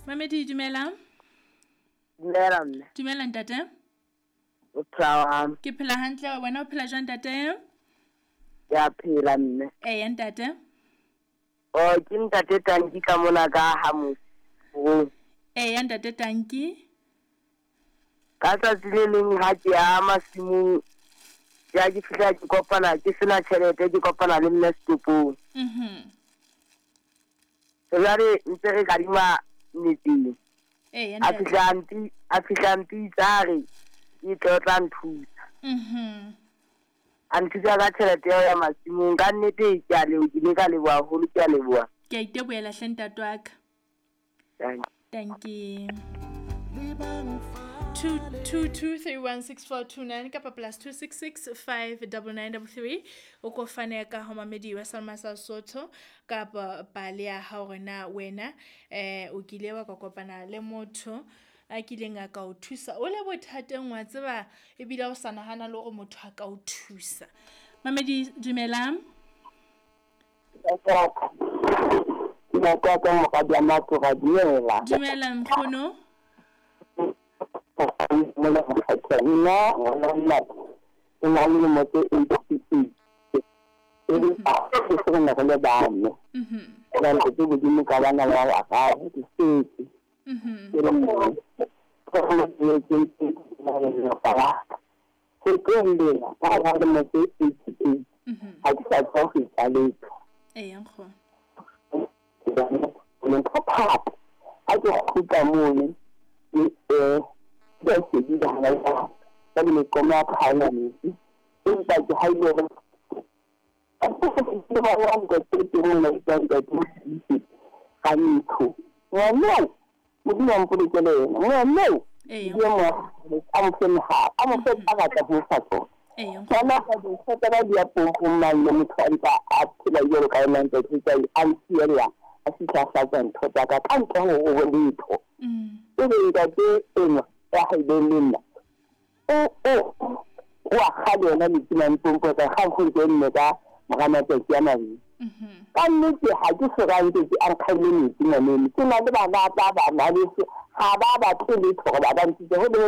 Mamedi, dumela. Dumela mme. Dumela ntate. O phela jwang? Ke phela hantle, wena o phela jwang ntate? Ke a phela mme. Eya ntate. Oh, ke ntate Tanki ka mona ka ha Mosong. Eya ntate Tanki. Ka tsatsi le leng ha ke ya masimong, ya ke fihla ke kopana ke sena tjhelete, ke kopana le mme setopong. Jwale ntse re kadima metseng. Eya A ntate. fihla a mpi, a fihla a mpitsa a re ke tle o tla nthusa. A nthusa ka tjhelete eo ya masimong. Ka nnete ke a leboha, ke ile ka leboha haholo, ke a leboha. Ke a itebohela hle ntate wa ka. Thank you. Thank you. 222316429 kapa +266 59933 o ko fane ka ho mamedi wa Salma sa Sotho kapa pale ya hao hore na wena o kile wa ka kopana le motho a kileng a ka o thusa o le bothateng, wa tseba ebile o sa nahana le hore motho a ka o thusa. Mamedi, dumelang. Ntate moradi wa Matura, dumela. Dumela nkgono. Nna ngwana nna ke na le dilemo tse 88. Empa ke se re ne re le bane. Jwale ke Modimo ka bana ba bararo, ke setse. Ke le mong. Ke re ke lelapa la ka. Ho tloheng lena, ka hara dilemo tse 88, ha ke sa tswa ho etsa letho. Eya nkgono. Ntho thata ha ke kgutla mono, ke ke a shebile hana jwale. Jwale meqomo ya ka ha ena metsi. Empa ke ha ile hore ntate Ngwaneo, Modimo a mpolokele yena. Ngwaneo, Eya. ke mo a mo fe mohala, a mo fe tsa batla ho fa tsona. Eya. Ngwana ka dintho tsa ba di ya pompong mang le motho a ntse a phela jwalo ka yena ntate Tsai, a nsiela, a fihla a hlatsa ntho tsa ka, ka ntle ho ho letho. Ebe ntate enwa ya haileng le nna, o a kga le yona metsi mane pompo tsa kgang ho ntse nne ka mora matsatsi a mabedi. Ka nnete ha ke soka ntse a nkgaile metsi ngwaneno. Ke na le bana ba bana beso, ha ba batle letho hore ba ba ntshitse ho le.